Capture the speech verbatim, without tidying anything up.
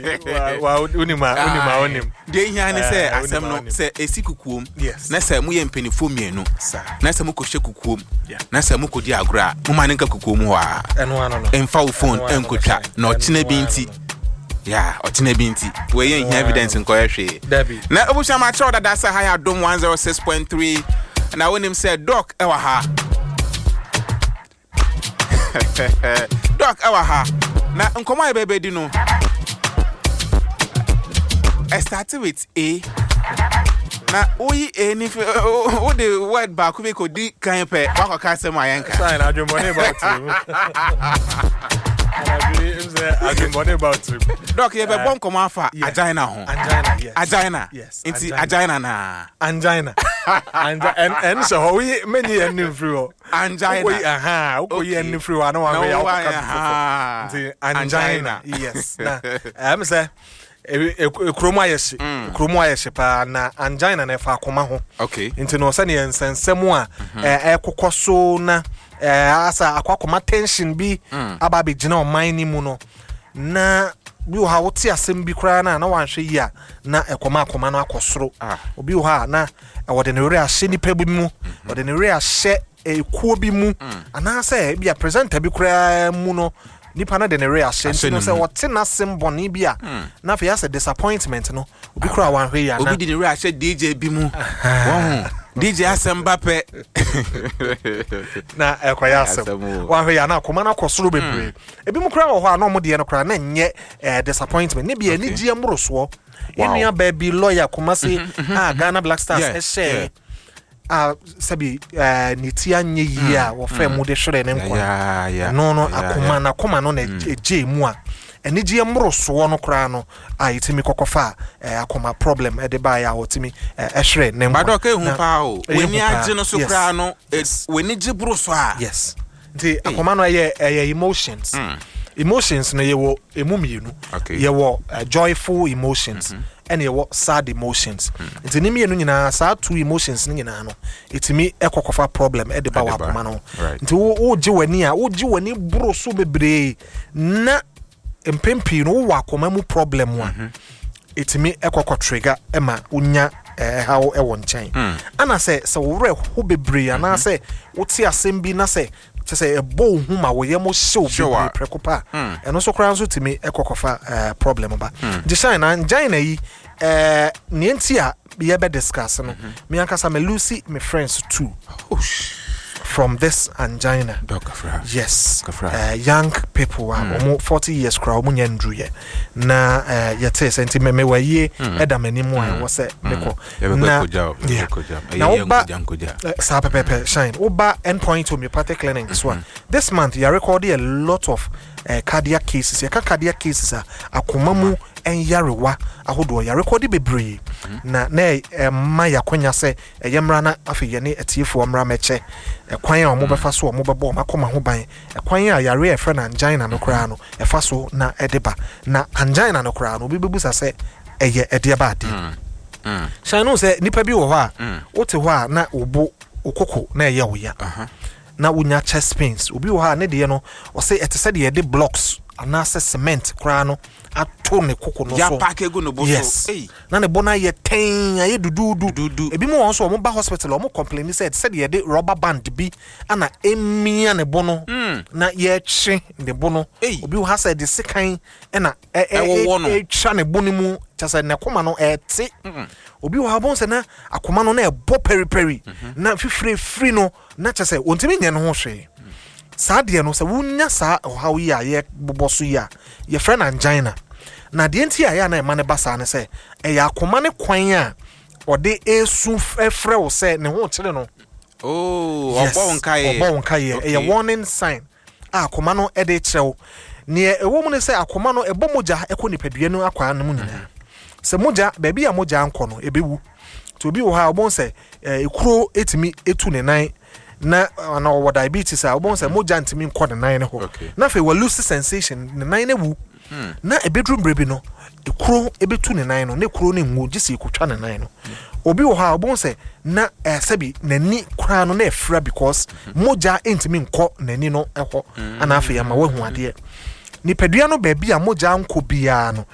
Wonim a, wonim a, wonim. Deɛ ehia ne sɛ Eh, asɛm wonim a, no wonim. sɛ esi kukuom Yes. na sɛ moyɛ mpanimfoɔ mmienu Saa. na sɛ mokɔhyɛ kukuom Yeah. na sɛ mokɔdi agorɔ a, moma ne nka kukuom hɔ a, Ɛno ano no. ɛmfa wo phone Ɛno ano no, ɛnkɔtwa Shine. na ɔkyena Ɛno bi ano nti no. Ya, ɔkyena bi nti wɔyɛ nhia Ɛno evidence nkɔyɛ hwee. Dabi. Na abusua, ma kyerɛw dada sɛ ha yɛ Adom one oh six point three na wonim sɛ Doc ɛwɔ ha. Doc ɛwɔ ha na nkɔmmɔ a yɛbɛbɛdi no ɛstart with A na woyi A ni fi, wode word baako bi kɔdi kan pɛ, woakɔka asɛm a yɛnka. Shine, adwemmɔne ba wo tirim. Anadwo yi, m sɛ adwemmɔne ba wo tirim. Doc, yɛbɛbɔ nkɔmmɔ afa Yeah. angina ho. Angina, yes. Angina. Yes, nti angina. Angina na Angina. Angina. Ɛn ɛn hyɛ hɔ. Woyi menyi ɛn ne mfiri hɔ. Angina. Wokɔyi, aha, wokɔyi Okay. ɛn ne firi hɔ a na Na wahwɛ yɛ wo wokɔka ayɛ, bi aha. foforɔ. Nti angina. Angina. Yes. Na ɛm sɛ e- e- kurom ayɛ hye. Mm. Kurom ayɛ hye paa na angina na ɛfa akoma ho. Okay nti no, sɛneɛ nsɛnsɛm a ɛ, ɛkokɔ so na ɛ, asa akɔ akɔma tension bi aba abɛgyina ɔman no mu no, na bi wɔ ha, wote asɛm bi koraa no a na wanhwɛ yi a, na ɛkɔma akoma no akɔ soro. Ah. Obi wɔ hɔ a na wɔde ne werɛ ahyɛ nipa bi mu, wɔde ne werɛ ahyɛ ekuo bi mu, anaasɛ ebi a presenter bi koraa mu no, nipa no de ne werɛ ahyɛ. Ahyɛ nti no ne sɛ mu. wɔte n'asɛm bɔne bi a, na afei asɛ disappointment no, obi koraa wanhwɛ yi a na Obi de ne werɛ ahyɛ D J bi mu, wɔho D J asɛm ba pɛ na ɛkɔyɛ asɛm. Asɛm o. Wahwɛ yɛ ana akoma no akɔ soro bebree. Ebi mu koraa wɔ hɔ a na ɔmo deɛ no koraa na nyɛ eh, disappointment ne bi, anigyeɛ mmorosoɔ. Wow. Yɛn nua baa bi, lawyer Kumase a Ghana Black Stars Yeah, ɛhyɛ yeah. a sɛbi eh, ne ti anyɛ yie a wɔfrɛ mu de hwerɛ ne nkwa Yeah, yeah, no no yeah, akoma yeah. n'akoma no na ɛgye mu a anigyeɛ mmorosoɔ no koraa no a yɛtumi kɔkɔfa a eh, akoma problem ɛde baeɛ a wɔtumi eh, ɛhwerɛ ne nkwa. But Doc, ehu Na- paa o. Ɛyɛ W'ani hu paa. agye no so Yes. koraa no, eh, Yes. w'ani gye boro so a, Yes, nti akoma no ɛyɛ ɛyɛ emotions. Emotions no, yɛwɔ emu mmienu. Okay. Yɛwɔ uh, joyful emotions ɛna yɛwɔ sad emotions. Nti ne mmienu nyinaa, saa two emotions no nyinaa no, ɛtumi ɛkɔkɔfa problem ɛde ba wɔ Ɛde ba. akoma no ho. Right. Nti wo wogye w'ani a, wogye w'ani boro so bebree na mpɛn pii no wowɔ akoma mu problem a, ɛtumi ɛkɔkɔ trigger ɛma wonya ɛhaw ɛwɔ nkyɛn. Ana sɛ sɛ wo werɛ ho bebree anaasɛ wote asɛm bi na sɛ kyɛ sɛ ɛbɔ wo hu ma wo yam hyew Hyew a. bebree prɛko pa a, ɛno nso koraa nso tumi ɛkɔkɔfa ɛɛ problem ba. Nti Shine, na angina yi, ɛɛ nea nti a yɛbɛ discuss no, me ankasa me lose me friends two from this angina. Doc Kafra. Yes. Kafra. uh, young people a wɔn forty years koraa wɔn nyɛ nduruyɛ na uh, yɛte sɛ nti mɛmɛ wɔ yie ɛda m'anim a ɛwɔ sɛ mekɔ. Yɛbɛkɔ Na akɔgya o, yeah. yɛbɛkɔ akɔgya. Ɛyɛ Na yɛ woba nkogya nkogya. Eh, saa pɛpɛpɛ, Shine, woba Endpoint Homeopathic Clinic so a, this month yɛ record a lot of uh, cardiac cases. Yɛka cardiac cases a, akoma mu nyarewa ahodoɔ, yɛ record bebree na na ɛma yɛakonya sɛ ɛyɛ mmara na afei yɛne atiefoɔ mmara mɛkyɛ ɛkwan a wɔn bɛfa so a wɔn bɛbɔ wɔn akoma ho ban, ɛkwan a yare a yɛfrɛ no angina no koraa no ɛfa so na ɛde ba. Na angina no koraa no, obi bɛbusa sɛ ɛyɛ ɛdeɛ ba adeɛ. Shine no, sɛ nipa bi wɔ hɔ a wote hɔ a na wo bo, wo koko na ɛyɛ wo ya na wonya chest pains. Obi wɔ hɔ a ne deɛ no, ɔsɛ ɛte sɛ deɛ yɛde blocks anaasɛ cement koraa no ato ne koko no so. Yɛapack egu ne bo so. Yes. Ei. Na ne bo no ayɛ tɛn, ayɛ duduudu. Duduudu. Ebi mu wɔn nso, wɔn ba hospital, wɔn complain sɛ ɛte sɛ deɛ yɛde rubber band bi ana emia ne bo no na yɛtwe ne bo no. Ei. Obi wɔ ha sɛ de sekan ɛna ɛ- ɛ- Ɛwɔwɔ no. ɛ- ɛtwa ne bo no mu, kyɛ sɛ ne koma no ɛte. Obi wɔ ha bɔn sɛ na akoma no na ɛbɔ pɛripɛri na fifire firi no, na kyɛ sɛ wɔntumi nyɛ ne ho hwee. Saa deɛ no, sɛ wonya saa ɔhaw yi a yɛbobɔ so yi a yɛfrɛ no angina, na deɛ nti a ɛyɛ a na ɛma no ba saa ne sɛ ɛyɛ akoma ne kwan a ɔde esu frɛ wo sɛ ne ho kyerɛ no. Oh, Yes, ɔbɔ wo nkaeɛ. ɔbɔ wo nkaeɛ. Okay. Ɛyɛ warning sign a akoma no de kyerɛ wo. Neɛ ɛwɔ mu ne sɛ akoma no ɛbɔ mogya ɛkɔ nipadua no akwaa no mu nyinaa. Sɛ mogya, baabi a mogya nkɔ no, ɛbɛwu. Nti obi wɔ hɔ a wɔbɛn sɛ ɛɛ ekuro etumi etu ne nan na ana ɔwɔ diabetes a, wɔbɛn sɛ mogya ntumi nkɔ ne nan ne hɔ. Okay. Na afei wɔ lose sensation, ne nan no wu. Na ebeduru mmerɛ bi no, ekuro ebetu ne nan no ne kuro no nwu gye sɛ ekotwa ne nan no. Obi wɔ hɔ a wɔbɛn sɛ na ɛɛ sɛbi n'ani koraa no na ɛfira because mogya ntumi nkɔ n'ani no ɛhɔ, ana afei ama wahu adeɛ. Nipadua no baabi a mogya nkɔ biara no